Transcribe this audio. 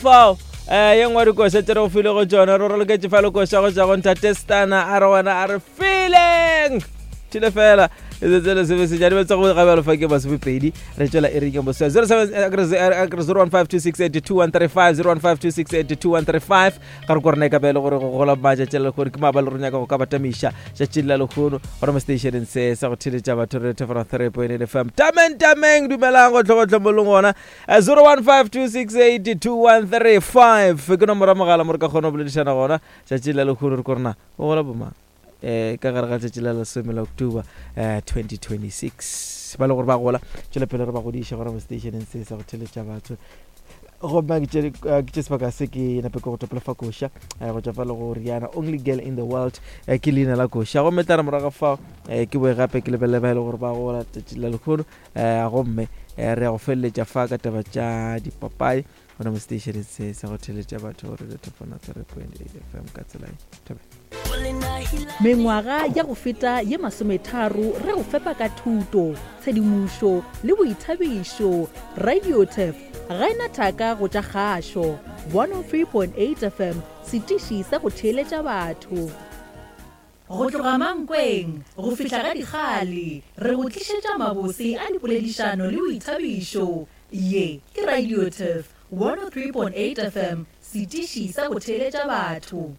fao um ye nngwe dikoša tše re go file go tšona re raloketše fa lekoša go tša go ntate stana a re wena a re feeling thile fela letsatsi le sebe sejadi ba tsa go gabjalo fa ke masomepedi re tšwela e reng boswa 01526821350 015268213 ga re ko rena e ka be e le gore go gola matšatši a lehono ke maaba le re nyaka go ka batamiša tšatšing la lehono gore mo stationeng se sa go theletša batho re thefera 3.8 fm tameng tameng dumelang gotlhogotlho mo leng gona 0152682135 ke nomoro ya mogala mo re ka kgona go boledišana gona tšatši la lehono re ko rena go gola bomang um ka gare ga tšatši la lesome la october um 2026 ba le gore ba gola tšwela pele re ba godiša gona mo stationeng se sa go theletša batho gomme ke tše sebaka se ke nape ke go topela fa koša go tšwa fa le go riana only girl in the world ke leina la koša gomme tla re morago fao ke boe gape ke lebelele ba e le gore ba gola tšatši la lekgono gomme re ya go feleletša fa ka taba tša dipapadi gona mo seteišeneng se sa go theletša batho gore le thofona 3.8 fm ka tsela e thobe Mengwaga ya go feta ye masometharo re go fepa ka thuto, tshedimošo le boithabišo. Radiotef ga e na thaka go tša kgašo. 103.8 FM, setiši sa go theeletša batho. Go tloga Mankweng go fihla ga Dikgale, re go tlišetša mabose a dipoledišano le boithabišo. Ye ke Radiotef 103.8 FM, setiši sa go theeletša batho.